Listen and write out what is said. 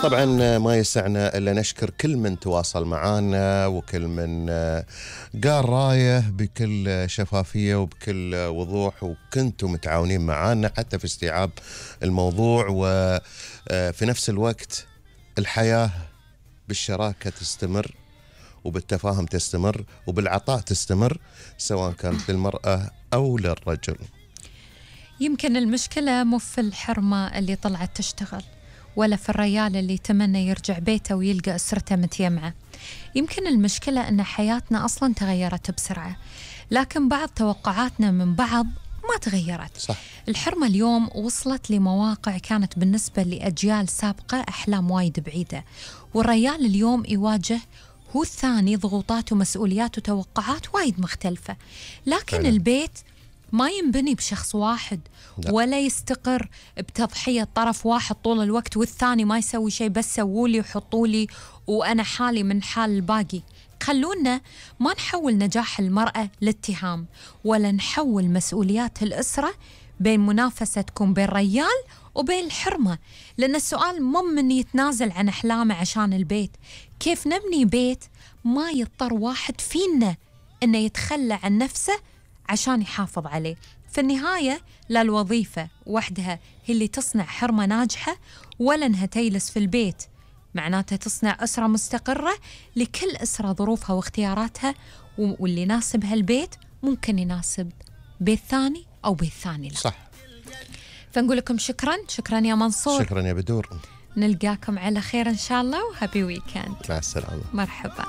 طبعا ما يسعنا إلا نشكر كل من تواصل معنا وكل من قال رايه بكل شفافية وبكل وضوح، وكنتوا متعاونين معنا حتى في استيعاب الموضوع، وفي نفس الوقت الحياة بالشراكة تستمر وبالتفاهم تستمر وبالعطاء تستمر، سواء كانت للمرأة أو للرجل. يمكن المشكلة مو في الحرمة اللي طلعت تشتغل، ولا في الرجال اللي تمنى يرجع بيته ويلقى أسرته متيمعة. يمكن المشكلة أن حياتنا أصلا تغيرت بسرعة، لكن بعض توقعاتنا من بعض ما تغيرت. صح. الحرمة اليوم وصلت لمواقع كانت بالنسبة لأجيال سابقة أحلام وايد بعيدة، والرجال اليوم يواجه هو الثاني ضغوطات ومسؤوليات وتوقعات وايد مختلفة. لكن فعلا. البيت ما ينبني بشخص واحد، لا. ولا يستقر بتضحية طرف واحد طول الوقت والثاني ما يسوي شيء، بس سوولي وحطولي وأنا حالي من حال الباقي. خلونا ما نحول نجاح المرأة لاتهام، ولا نحول مسؤوليات الأسرة بين منافسة تكون بين الرجال وبين الحرمة، لأن السؤال مو من يتنازل عن أحلامه عشان البيت، كيف نبني بيت ما يضطر واحد فينا إنه يتخلى عن نفسه عشان يحافظ عليه. في النهاية لا الوظيفة وحدها هي اللي تصنع حرمة ناجحة، ولا انها تجلس في البيت معناتها تصنع أسرة مستقرة. لكل أسرة ظروفها واختياراتها، واللي يناسبها البيت ممكن يناسب بيت ثاني أو بيت ثاني لا. صح. فنقول لكم شكرا يا منصور، شكرا يا بدور، نلقاكم على خير إن شاء الله، وهابي ويكند. مع السلامة. مرحبا.